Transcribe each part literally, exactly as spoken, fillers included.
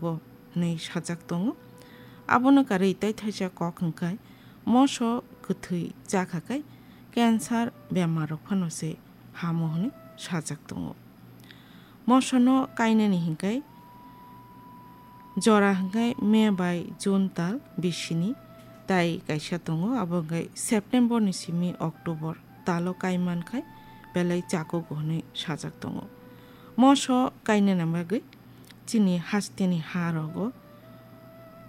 bo hwnwi sajak tongo. Abono karwi tei thaisa kok hwnkhe moso kwthwi chakha khe cancer bemar rok phano se hamo hwnwi sajak tongo. Mosono kainani hinkhe jora hinkhe May bai June tal bisini tai kaisa tongo, abo hinkhe September ni simi October talo kaiman khai belai chakugo hwnwi sajak tongo. Moso kainani bagwi chini hasteni ha rogo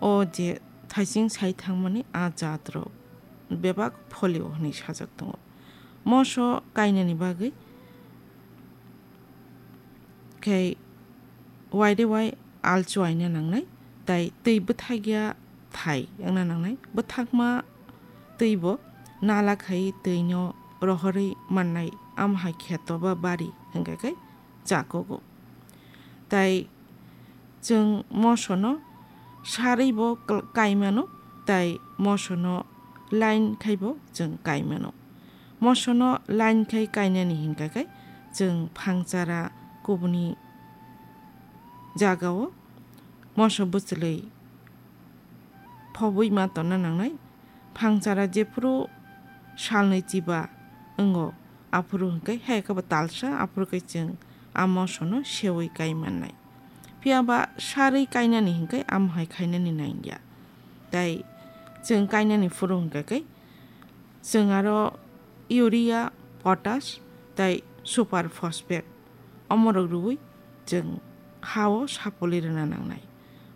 o je thaising sai thangmani a jat rok bebak folio hwnwi sajak tongo. Moso kainani bagwi khe waide wai alchuaina nangnai, tai twi bwthakya thai wngna nangnai. Bwthakma twi bo nala khai twino rohorwi mannai, amhai kheto ba bari hwnkha khe chakugo. Tai chwng mosono sarwi bo kl-, kaimano, tai mosono line khai bo chwng kaimano. Mosono line khai kainani hinkha khe chwng phangchara kubuni jagao moso bwchwlwi phobwi ma tonna nangnai. Phangchara jephuru salnwi chiba wngo, aphuru hwnkhe hai khe bo talsa, aphuru khe chwng a mosono sewi kai mannai. Phiya ba sarwi kainani hinkhe amo hai khainani nangya. Tai chwng kainani phuru hwnkha khe chwng aro urea, potash tai super phosphate omorok rwui chwng ha-o sapoli rwna nangnai.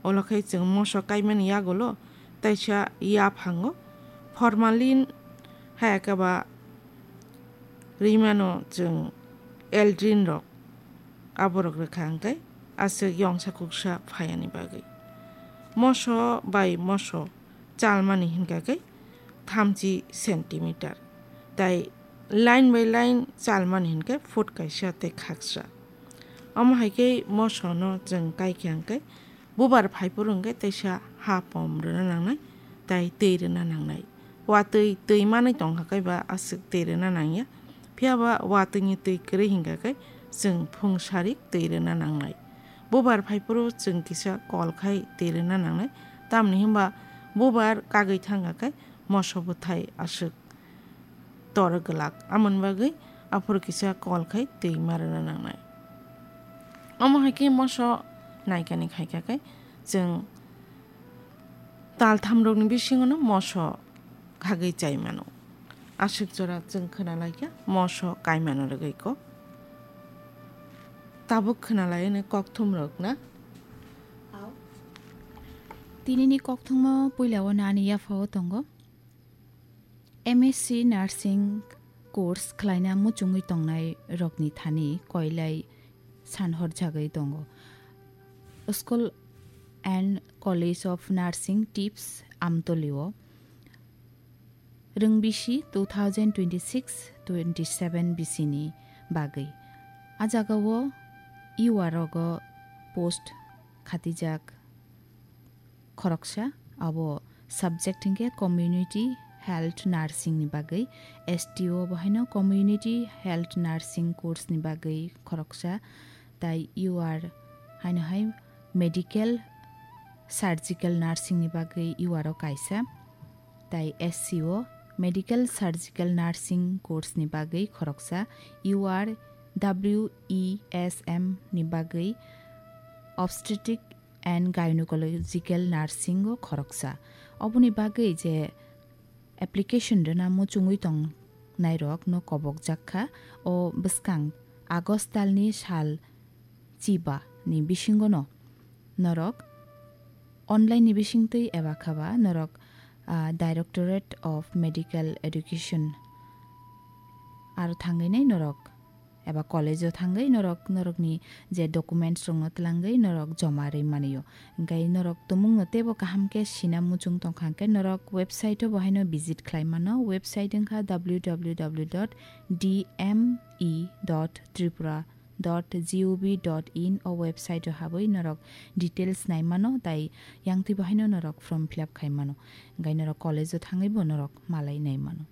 Olo khai chwng moso kaimani yagulo taisa yaphango formalin hai khe ba rimano chwng eldrin rok aborok rwkha hwnkhe aswk yongsa kuksa phayani bagwi. Moso bai moso chalmani hinkha khe thamchi centimeter, tai line by line chalmani hinkhe foot kaisa tei khaksa. Omo hai khe mosono chwng kaikha hinkhe bubar phaiphuru hinkhe teisa ha pom rwna nangnai, tai twi rwna nangnai. Watwi twi manwi tongkha khe ba aswk twi rwna nangya, phiya ba watwini twi kwrwi hinkha khe chwng phung sarik twi rwna nangnai. Bubar phaiphuru chwng kisa kol khai twi rwna nangnai, tamni hwnba bubar kagwi thangkha khe moso bwthai aswk tor glak, amoni bagwi aphuru kisa kol khai twi ma rwna nangnai. Omo hai khe moso naikani khaikha khe chwng tal thamrokni bisingono moso khagwi chai mano. Aswk jora chwng khwnalaikha moso kaimano rwgwi kok. Tabuk khwnalaini kokthumrok na? Tinini kokthumno puilao nani yaphao tongo. M S C Nursing course khlaina muchungwi tongnai rokni thani koilai sanhor jagwi tongo. School and College of Nursing Tips Amtolio Rwngbisi two thousand twenty-six twenty-seven bisini bagwi. A jagao U R rogo post khatijak khoroksa, abo subject hinkhe Community Health Nursing ni bagwi, S T O bo haino Community Health Nursing course ni bagwi khoroksa, tai U R haino hai Medical Surgical Nursing ni bagwi U R o kaisa, tai S C O Medical Surgical Nursing course ni bagwi khoroksa, U R W E S M ni bagwi Obstetric and Gynecological Nursing o khoroksa. Oboni bagwi je application rwna muchungwi tongnairokno kobokjak kha, o bwskang August talni sal chiba ni bisingono norok online ni bisingtwi eba khaba norok, ah, Directorate of Medical Education aro thangwi nai norok eba college o thangwi norok norokni je documents rokno twlangwi norok joma rwi manio. Hwnkhe norok tumungno teibo kaham khe sina muchung tongkha hwnkhe norok website o bo haino visit khlai mano. Website wngkha W W W dot D M E dot tripura dot gov dot in o website o habwi norok details nai mano, tai yangtwi bo haino norok form fill up khai mano, hwnkhe norok college o thangwi bo norok malai nai mano.